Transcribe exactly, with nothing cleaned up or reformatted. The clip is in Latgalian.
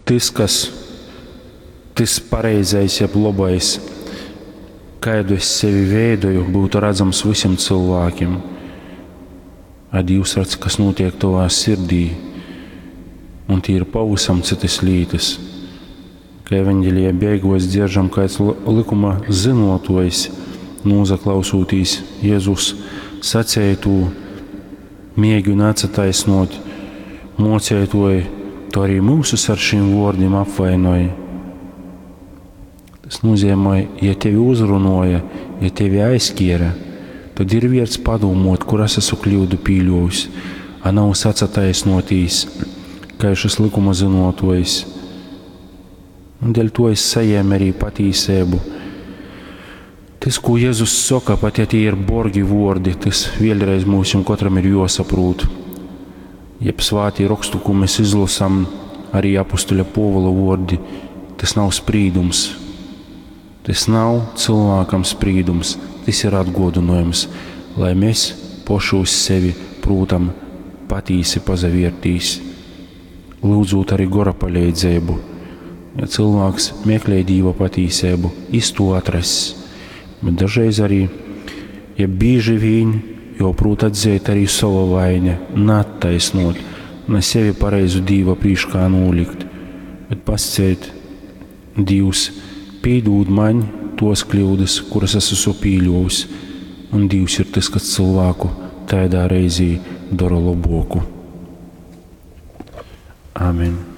Tys, kas tys pareizais, jeb lobais, kaidu es sevi veidoju, būtu radzams visiem cilvēkiem. A Dīvs redz, kas notiek tavā sirdī, un tie ir pavisam citas lītas. Ka evaņģēlijā beigos dzieržam, kāds likuma zinotojs, nūzaklausūtīs Jēzus sacētū, mēģina atsataisnot, mocētoji, tu arī mūsus ar šīm vārdiem apvainoji. Tas nozīmē, ja tevi uzrunoja, ja tevi aizkiera, tad ir vērts padomot, kur es esmu kļūdu pīļojis, a nav sacataisnotīs, kā šis likuma zinotojs. Un dēļ to es saņēmu arī patīsību. Tas, ko Jēzus saka, pat ja tie ir borgi vārdi, tas vēlreiz mums katram ir jāsaprot. Jeb svātī rakstu, ko mēs izlasam, arī apustuļa Pōvula vārdi, tas nav sprīdums. Tas nav cilvēkam sprīdums, tas ir atgodinājums, lai mēs poši uz sevi prūtam patīsi pazaviertīs, lūdzot arī gora palīdzību. Ja cilvēks meklē Dīva patīsību, iz to atrass. Bet dažreiz arī, ja bieži vien, jo prūt atzīt arī savu vaini, neattaisnot, ne sevi pareizu Dīva prīškā nolikt, bet pasciet, Dīvs, pīdūd man tos kļūdas, kuras es esmu pīļojis, un Dīvs ir tas, kas cilvēku tādā reizī dara laboku. Amen.